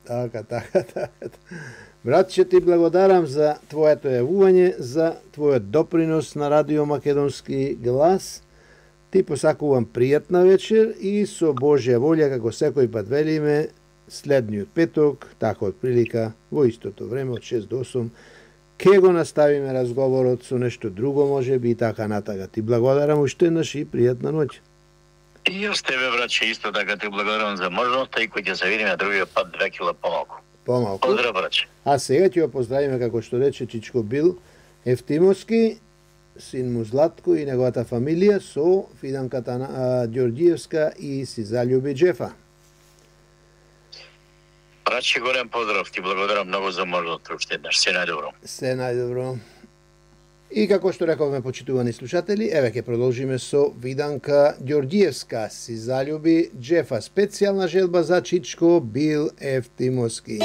Така. Братче, ти благодарам за твоето јавување, за твојот допринос на Радио Македонски глас. Ти посакувам пријатна вечер и со Божја волја, како секој пат велиме, следниот петок, така од прилика, во истото време, од 6 до 8, ке го наставиме разговорот со нешто друго, може би и така натака. Ти благодарам уште еднаш и пријатна ноќ. И јас тебе, братче, исто така ти благодарам за можноста и кој ќе се видиме другиот пат 2 кила помалку. Поздрав, братче. А сега ќе го поздравиме, како што рече Чичко Бил Ефтимовски, син му Златко и неговата фамилија со Фиданката Ѓорѓиевска и си залюби Джефа. Братче, голем поздрав, ти благодарам многу за можноста уште еднаш. Се најдобро. Се најдобро. И како што рековме, почитувани слушатели, еве ќе продолжиме со Виданка Ѓорѓиевска, си залюби Джефа, специјална желба за Чичко Бил Ефтимовски.